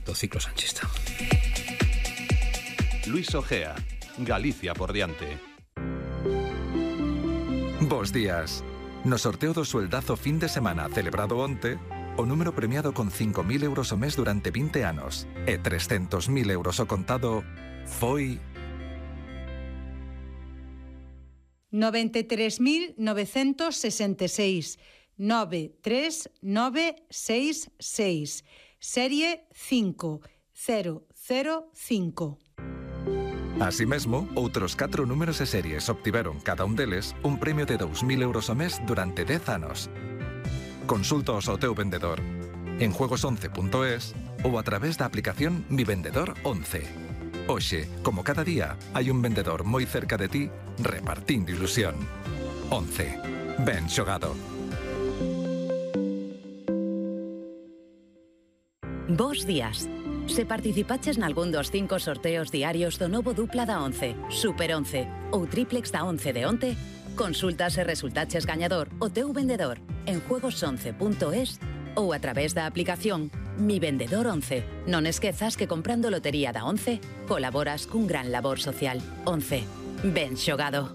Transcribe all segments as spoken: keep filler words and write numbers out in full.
do ciclo sanchista. Luis Ojea, Galicia por diante. Bos días. No sorteo do sueldazo fin de semana celebrado onte, o número premiado con cinco mil euros o mes durante vinte anos e trescentos mil euros o contado foi... noventa e tres mil novecentos sesenta e seis, nove tres nove seis seis, serie cinco cero cero cinco. Así mesmo, outros catro números e series obtiveron cada un deles un premio de dous mil euros o mes durante dez anos. Consultaos ao teu vendedor en juegos once punto es ou a través da aplicación Mi Vendedor once. Hoxe, como cada día, hai un vendedor moi cerca de ti repartindo ilusión. once. Ben xogado. Bos días. Se participaches nalgún dos cinco sorteos diarios do novo dupla da once, Super once ou triplex da once de onte, consulta se resultaches gañador o teu vendedor en juegos once punto es ou a través da aplicación Mi Vendedor once. Non esquezas que comprando lotería da once colaboras cun gran labor social. once. Ben xogado.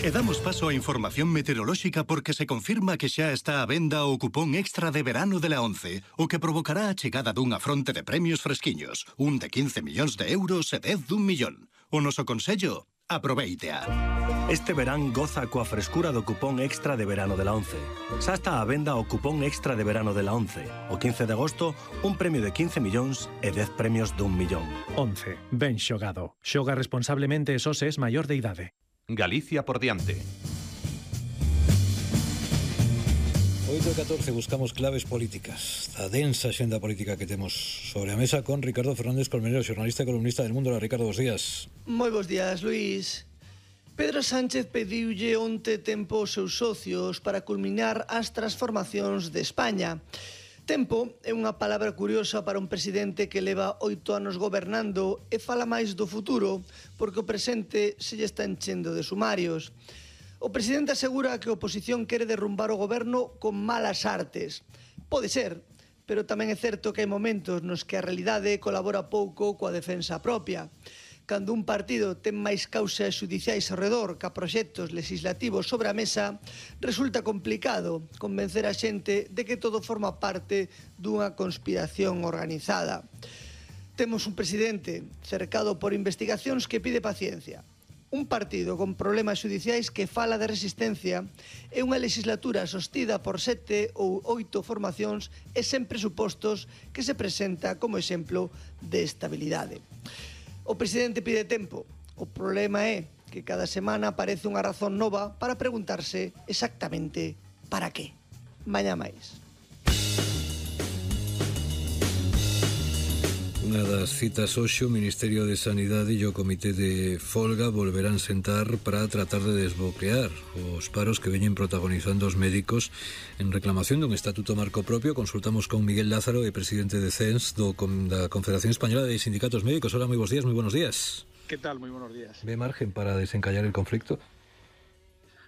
E damos paso á información meteorolóxica porque se confirma que xa está á venda o cupón extra de verano de la once, o que provocará a chegada dunha fronte de premios fresquiños, un de quince millóns de euros e dez dun millón. O noso consello, aproveítea. Este verán goza coa frescura do cupón extra de verano de la once. Xa está á venda o cupón extra de verano de la once. O quince de agosto, un premio de quince millóns e dez premios dun millón. once. Ben xogado. Xoga responsablemente e só se es maior de idade. Galicia por diante. oito e catorce buscamos claves políticas da densa xenda política que temos sobre a mesa con Ricardo Fernández Colmenero, xornalista e columnista del Mundo. Hola, Ricardo, bos días. Moi bos días, Luís. Pedro Sánchez pediulle onte tempo aos seus socios para culminar as transformacións de España. Tempo é unha palabra curiosa para un presidente que leva oito anos gobernando e fala máis do futuro porque o presente se lle está enchendo de sumarios. O presidente asegura que a oposición quere derrumbar o goberno con malas artes. Pode ser, pero tamén é certo que hai momentos nos que a realidade colabora pouco coa defensa propia. Cando un partido ten máis causas xudiciais ao redor ca proxectos legislativos sobre a mesa, resulta complicado convencer a xente de que todo forma parte dunha conspiración organizada. Temos un presidente cercado por investigacións que pide paciencia, un partido con problemas xudiciais que fala de resistencia e unha legislatura sostida por sete ou oito formacións e sen presupostos que se presenta como exemplo de estabilidade. O presidente pide tempo. O problema é que cada semana aparece unha razón nova para preguntarse exactamente para qué. Mañá máis. Unha das citas hoxe, o Ministerio de Sanidade e o Comité de Folga volverán sentar para tratar de desbloquear os paros que veñen protagonizando os médicos en reclamación dun estatuto marco propio. Consultamos con Miguel Lázaro, e presidente de C E N S, do, da Confederación Española de Sindicatos Médicos. Hola, moi bons días, moi buenos días. ¿Qué tal? Muy buenos días. ¿Ve margen para desencallar el conflicto?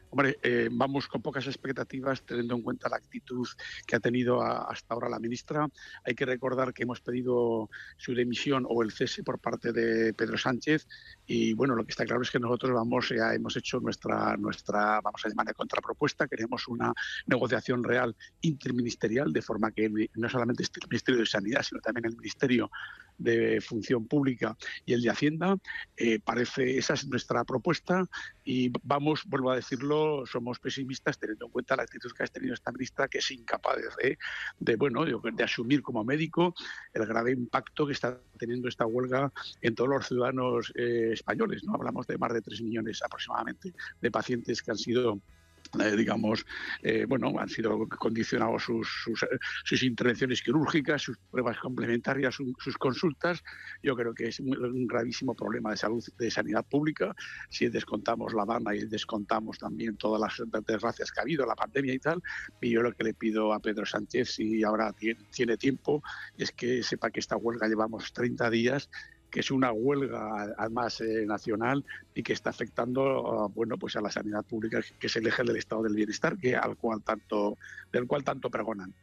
Hombre, eh, vamos con pocas expectativas teniendo en cuenta la actitud que ha tenido a, hasta ahora la ministra. Hay que recordar que hemos pedido su dimisión o el cese por parte de Pedro Sánchez y bueno, lo que está claro es que nosotros vamos ya hemos hecho nuestra, nuestra vamos a llamar de contrapropuesta. Queremos una negociación real interministerial de forma que no solamente esté el Ministerio de Sanidad, sino también el Ministerio de Función Pública y el de Hacienda. Eh, parece, esa es nuestra propuesta y vamos, vuelvo a decirlo, somos pesimistas teniendo en cuenta la actitud que ha tenido esta ministra, que es incapaz de, de bueno, de, de asumir como médico el grave impacto que está teniendo esta huelga en todos los ciudadanos eh, españoles, ¿no? Hablamos de más de tres millones aproximadamente de pacientes que han sido Eh, digamos, eh, bueno, han sido condicionados sus, sus, sus intervenciones quirúrgicas, sus pruebas complementarias, su, sus consultas. Yo creo que es un, un gravísimo problema de salud, de sanidad pública. Si descontamos la banda y descontamos también todas las desgracias que ha habido, la pandemia y tal, y yo lo que le pido a Pedro Sánchez, si ahora tiene, tiene tiempo, es que sepa que esta huelga llevamos treinta días, que es una huelga además eh, nacional y que está afectando uh, bueno, pues a la sanidad pública, que es el eje del estado del bienestar, que al cual tanto, del cual tanto pregonan.